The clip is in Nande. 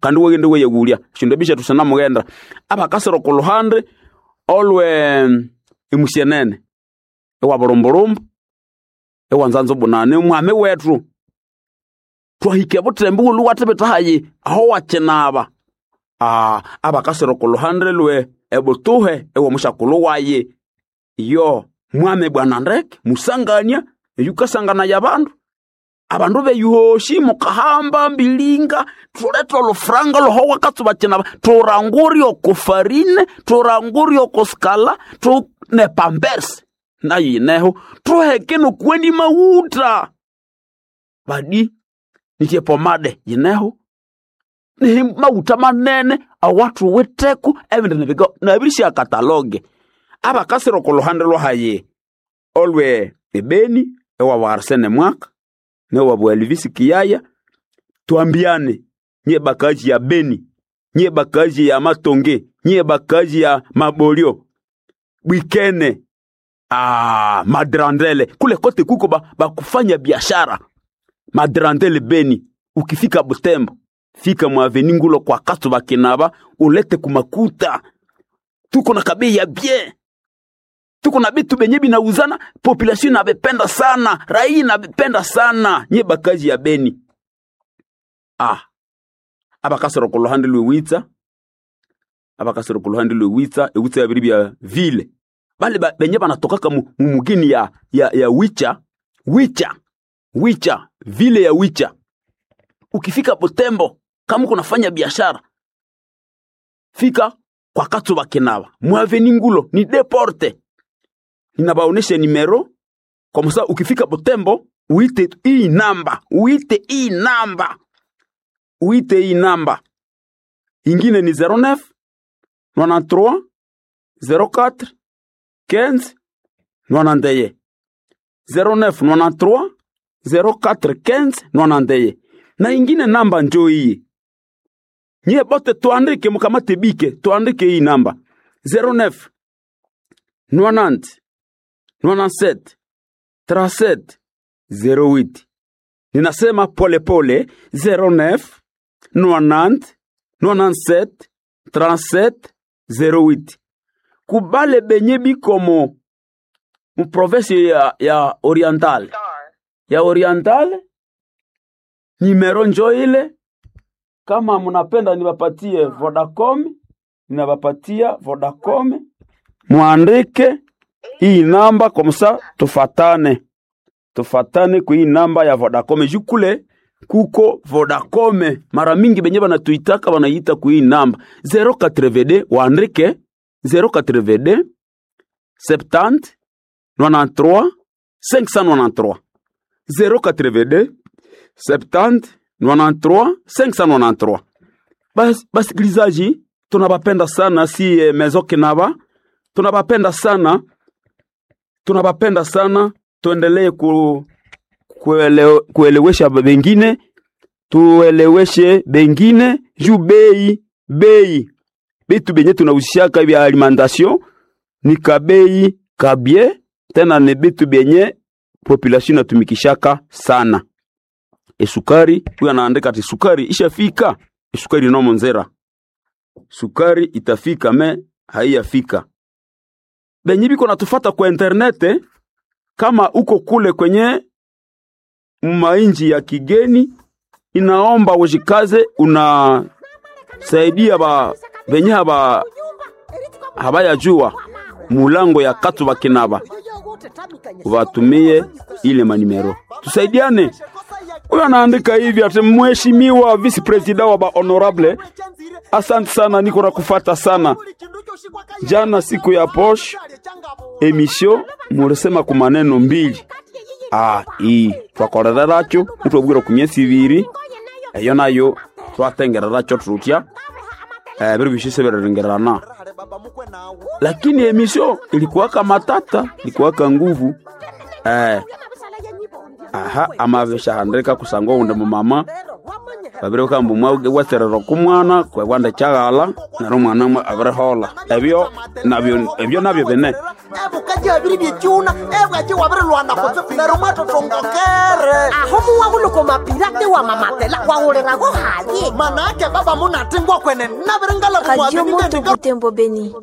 Kandi wagende weyagulya shindu bisha tusana mugenda abakasira okuluhande olwe emusyenene ewa bulumburumbu ewa nzanzo bunane mwami wetu twahike butembo ulu watebeta hayi aho wakinaba abakasira okuluhande lwe ebutuhe ewa mushakulu waye yo mwami bwana ndeke musangania eyukasangana ya bandu abandu beyuhoshi mukahamba mbilinga tuleta olufuranga loho wakatsuba kinaba turangurya okufarine turangurya okusikala tu ne pampersi nayo yineho tuheke nokuweni mawuta badi nitye pomade yineho nihi mawuta manene awathuwitheko ebindi nibika nabirisya kataloge abakasira okuluhande lwahayi olwe ebeni ewa Arsene Mwaka newa Bwalivisi Kiyaya twambiane nye bakaji ya Beni, nye bakaji ya Matonge, nye bakaji ya Mabolio Bwikene, Madrandele kule kote kuko bakufanya biashara Madrandele Beni. Ukifika Butembo fika mwaveni ngulo kwa kato bakinaba ulete kumakuta, tuko na kabei ya bien, tuko na bitu benye binauzana, population inabependa sana, raia inabependa sana, nye bakaji ya Beni. Abakasoro kuluhande lwewitsa, abakasoro kuluhande lwewitsa, ewitsa yabiri bya vile bale benye banatokaka mu mugini ya wicha wicha wicha vile ya wicha. Ukifika Butembo kama kunafanya biashara fika kwa Katsuba Kinaba mwaveni ngulo ni deporte, ninabaonesha nimero kwa musa. Ukifika Butembo uite hii namba, uite hii namba, uite hii namba ingine ni 09 93 04 15 91 09 93 04 15 91 na ingine namba njo hii. Nyie bote tuandike, mukamate bike, tuandike hii namba 09 90 97 37 08. Ninasema pole pole 09 90 97 37 08. Kubale benye bikomo mu province ya Oriental, ya Oriental nimero njo ile. Kama munapenda niwapatie Vodacom, ninawapatia Vodacom, muandike hii namba kwa musa, tufatane tufatane kwa hii namba ya Vodacom. Jukule kuko Vodacom mara mingi benye banatuitaka banaita kwa hii namba 082, waandike 082 70 93 593 082 70 93 593. Bas, basikilizaji tunabapenda sana si Maison Kinaba, tunabapenda sana, tunabapenda sana. Tuendelee kuelewesha bengine, tueleweshe bengine juu bei bei bitu benye tunauzishaka vya alimentation ni kabei kabie, tena ni bitu benye population natumikishaka sana. Esukari, huyu anaandika ati sukari ishafika, esukari nomo nzera, sukari itafika me haiyafika. Benye biko natufata kwa internet, kama uko kule kwenye mainji ya kigeni, inaomba ujikaze, unasaidia ba benye haba habayajua mulango ya Katsuba Kinaba, ubatumie ile manimero, tusaidiane. Huyo anaandika hivi ati mheshimiwa vice president wa ba honorable, asante sana, niko na kufata sana. Jana siku ya posh emission mulisema ku maneno mbili ii twakorereracho nitwabwira ku myesi ibiri eyo nayo twatengereracho tutya biri bishise birirengerana, lakini emission ilikuwaka matata, ilikuwaka nguvu aha amaveshahandika kusangwa unde mumama Babiri bakamba mwawaserera oku mwana kwewanda kyaghala neryo omwana abirihola. Ebyo nabyo ebyo nabyo bine. Ebukaji abiri byekyuna ebwaki wabirilwana kutsibu neryo mwatotongokere. Aho muwahuluko mapirate wa mamatela wahulirago haye. Manake baba munatingwa kwene Radio nabiringala Moto Butembo Beni.